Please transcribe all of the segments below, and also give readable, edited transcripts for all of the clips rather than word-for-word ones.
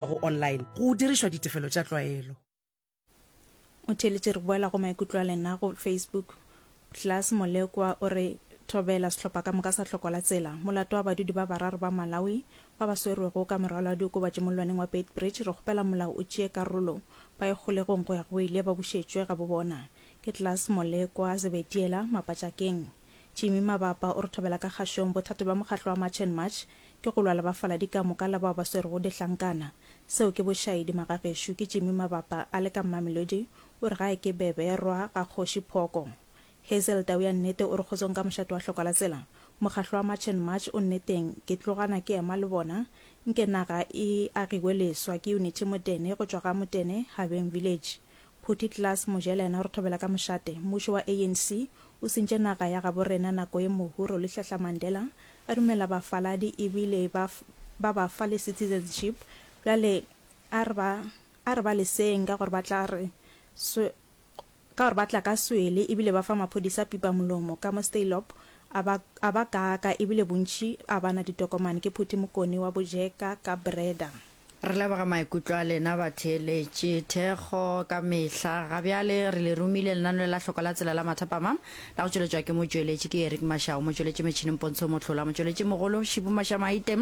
Go online go dirišwa ditefelo tša tlwaelo. O theeletše re boela go maikutlo a lena go Facebook. Klaas Molekwa o re, Thobela sehlopha ka moka sa Hloko la Tsela. Molato wa badudi ba bararo ba Malawi ba ba swerwego ka morwalo wa diokobatši mollwaneng wa Beitbridge, re kgopela molao o tšee karolo. Ba ye kgolegong go ya go ile ba bušetšwe gabo bona. Ke Klaas Molekwa Zebediela, Mapatšakeng. Jimmy Mabapa o re thobela ka kgašong, Bothata bja mokgahlo wa March and March Ke go lwa le bafaladi ka moka la bao ba swerego dihlankana. Seo ke bošaedi, magagešo. Ke Jimmy Mabapa a le ka Mamelodi, o re gae ke Beberwa ga Kgoši Phoko. Hazel Tau ya nnete o re kgotsong ka mošate wa hloka la tsela. Mokgahlo wa March and March o nneteng, ke tlogana ke ema le bona. Nke naga e agiwe leswa. Ke Unity Motene go tšwa ga Motene, Habeng Village. Phuthi Klaas Mojela yena o re thobela ka mošate. Mmušo wa ANC o sentše naga ya gabo rena nako ye mohu Rolihlahla Mandela a dumela bafaladi ebile ba ba ba fa le citizenship bjale a re ba a re ba leseng ka gore ba tla re swe ka gore ba tla ka swele ebile ba fa maphodisa pipa molomo ka mo Steilop a ba a ba kaaka ebile bontši a ba na ditokomane ke Phuthi Mokone wa Bojeka ka Breda. Re leboga maikutlo a lena batheeletši. Thekgo ka mehla. Ga bjale re le romile lenaneo la Hloko la Tsela la Mathapama la go tšweletšwa ke motšweletši ke Eric Mashau, motšweletši metšhineng Pontsho Mohlola, motšweletši mogolo Šibu Mashamaite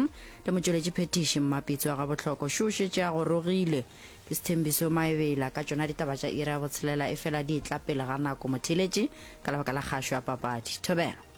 le motšweletši phethiši Mmapitsi wa Gabohloko. Šo šetše a gorogile ke Sthembiso Maebela ka tšona ditaba tša iri ya botshelela efela di etla pele ga nako motheeletši ka lebaka la kgašo ya papadi. Thobela.